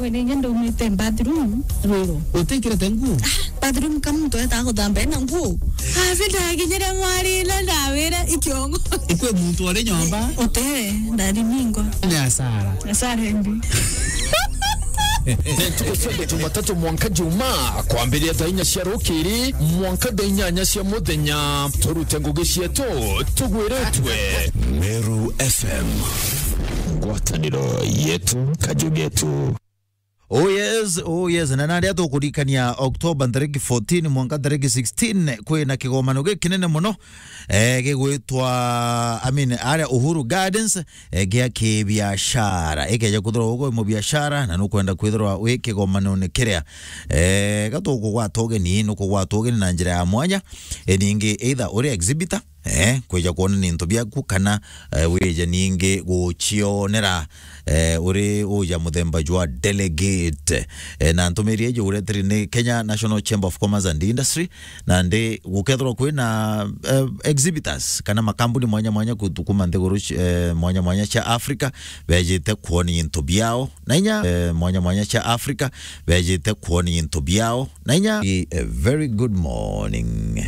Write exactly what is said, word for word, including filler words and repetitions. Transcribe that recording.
Wene inya ndaumite bathroom rwiro. Utikirite nguo? Bathroom ka muntu etaga guthamba ena nguo. Afi ndakinyire mwari na ndawira ikiongo. Ikwe muntu ari nyomba? Ute, ndari ningwa. Ni asara. Asara embi. Ntuku cia Jumatatu mwanka Juma, kwambiria thaa inya cia rukiri mwanka thaa inyanya cia muthenya, turute ngugi cietu tugwiritwe. Meru F M. Ngwataniro yetu, kaju getu. Oh yes, oh yes. Na naria tukurikania October ntariki fourteen mwanka ntariki sixteen, kwina kigomano gikinene muno, eh, gigwitwa, I mean, aria Uhuru Gardens, eh, gia kibiashara. Ikeja kwithirwa ugo mubiashara na nukwenda kwithirwa wi kigomanone kiria, eh, gatukugwata ugeni, nukugwata ugeni na njira ya mwanya, eh, ningi either uri exhibitor, eh, kwija kwonania into biaku kana, eh, wije ningi gucionera, eh, uri uja muthemba jwa delegate. Eh, na ntumiri iji uretiri ni Kenya National Chamber of Commerce and Industry, na ndi gukethirwa kwina, eh, exhibitors kana makambuni mwanya mwanya ku-, kuma nthiguru ci-, eh, mwanya mwanya cia Africa bejite kwonia into biao na inya, eh, mwanya mwanya cia Africa bejite kwonia into biao na inya. A very good morning.